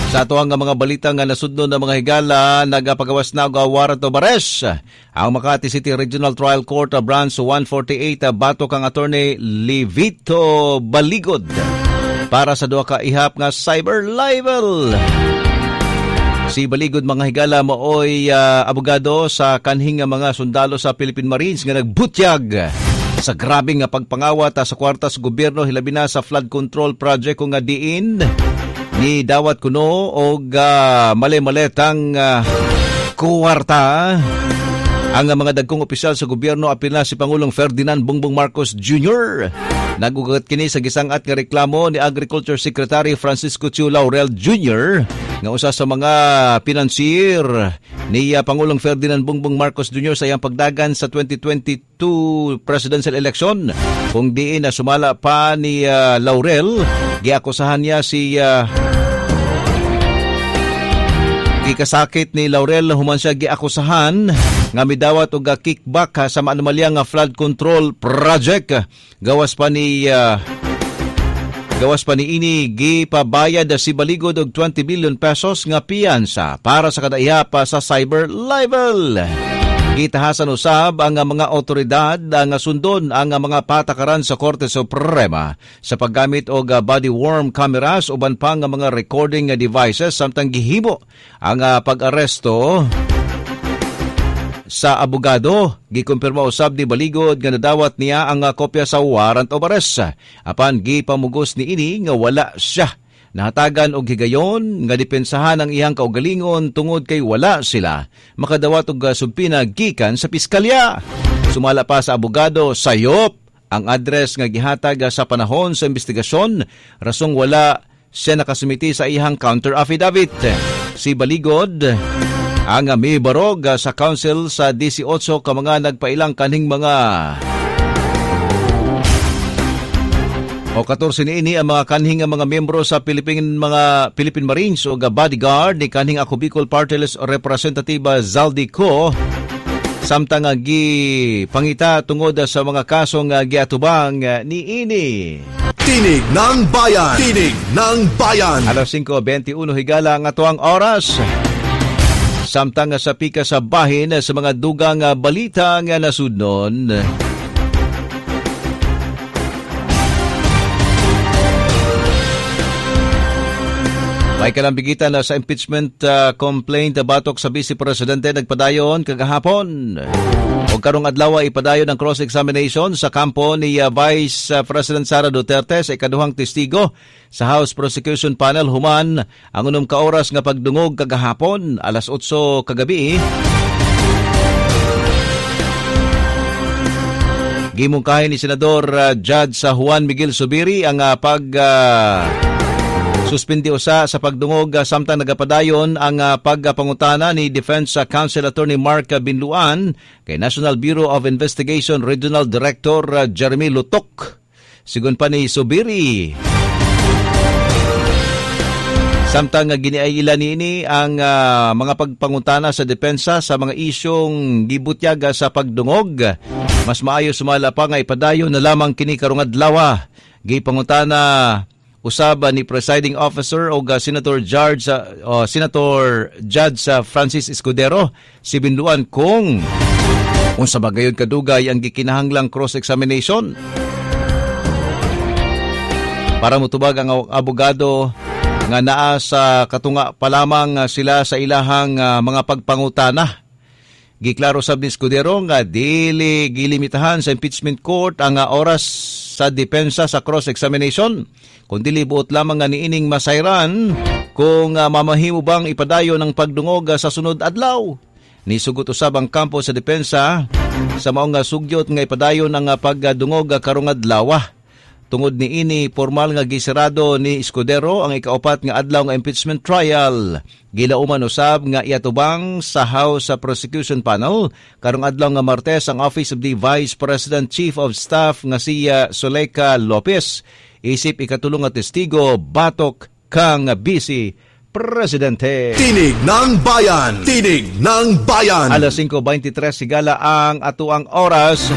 Sa ato ang mga balita nga nasudno ng mga higala, nagapagawas na og warrant of arrest ang Makati City Regional Trial Court Branch 148 batok kang Attorney Levito Baligod para sa duha ka ihap nga cyber libel. Si Baligod, mga higala, maoy abogado sa kanhing nga mga sundalo sa Philippine Marines nga nagbutyag sa grabe nga pagpangawat sa kwarta sa gobyerno, hilabi na sa flood control project kung nga diin ni dawat kuno og mali-maletang kuwarta ang mga dagkong opisyal sa gobyerno, apil na si Pangulong Ferdinand Bongbong Marcos Jr. Nagugat kini sa gisangat nga reklamo ni Agriculture Secretary Francisco Tiu Laurel Jr. nga usa sa mga pinansier ni Pangulong Ferdinand Bongbong Marcos Jr. sa iyang pagdagan sa 2022 presidential election. Kung diin na sumala pa ni Laurel, giakusahan niya si gikasakit ni Laurel human siya giakusahan nga midawat og kickback sa maanomalya nga flood control project. Gawas pa ni ini gipabayad si Baligod og 20 billion pesos nga piyansa para sa kada ihap sa cyber libel. Gitahasan usab ang mga otoridad nga sundon ang mga patakaran sa Korte Suprema sa paggamit og body worn cameras uban pa nga mga recording devices samtang gihimo ang pag-aresto sa abogado. Gikumpirma usab ni Baligod nga nadawat niya ang kopya sa warrant of arrest. Apan gipamugos niini nga wala siya nahatagan og higayon nga depensahan ang iyang kaugalingon tungod kay wala sila makadawat og subpina gikan sa piskalya. Sumala pa sa abogado, sayop ang address nga gihatag sa panahon sa investigasyon, rasong wala siya nakasumiti sa iyang counter affidavit. Si Baligod ang mibarog sa council sa 18 ka mga nagpailang kanhing mga o 14 niini ang mga kanhing mga miyembro sa Philippine Marines o bodyguard ni kanhing Ako Bicol Party List Representative Zaldy Co samtang gipangita tungod sa mga kasong giatubang niini. Tinig ng Bayan! Tinig ng Bayan! Alas 5:21 higala ang atuang oras. Samtang sa pika sa bahin sa mga dugang balita nga nasudnon. May kalambigitan na sa impeachment complaint batok sa Vice Presidente nagpadayon kagahapon. O karong adlaw ipadayon ang cross-examination sa kampo ni Vice President Sara Duterte sa ikaduhang testigo sa House Prosecution Panel human ang 6 ka oras nga pagdungog kagahapon alas 8 kagabi. Gimungkahi ni Senador Judge Juan Miguel Zubiri ang pag suspindi usa sa pagdungog samtang nagapadayon ang pagpangutana ni Defense Counsel Attorney Mark Binluan kay National Bureau of Investigation Regional Director Jeremy Lutok. Sigon pa ni Zubiri, samtang giniayila niini ang mga pagpangutana sa depensa sa mga isyong gibutyag sa pagdungog, mas maayo sumala pa nga ipadayon na lamang kini karong adlaw. Gipangutana usab ni presiding officer o Senator Judge Francis Escudero si Binluan kung unsa ba gayud kadugay ang gikinahanglang cross-examination para motubag ang abogado nga naa sa katunga pa lamang sila sa ilahang mga pagpangutana. Giklaro sab ni Escudero nga dili gilimitahan sa impeachment court ang oras sa depensa sa cross-examination, kung dili buot lamang nga niining masayran kung mamahimo bang ipadayon ang pagdungog sa sunod adlaw. Nisugot usab ang kampo sa depensa sa maong sugyot nga ipadayon ang pagdungog karong adlaw. Tungod niini formal nga gisirado ni Escudero ang ikaupat nga adlaw nga impeachment trial. Gilauman usab nga iatubang sa House Prosecution Panel karong adlaw nga Martes ang Office of the Vice President Chief of Staff nga si Zuleika Lopez isip ikatulong nga testigo batok kang Vice Presidente. Tinig ng Bayan! Tinig ng Bayan! Alas 5:23 sigala ang atuang oras.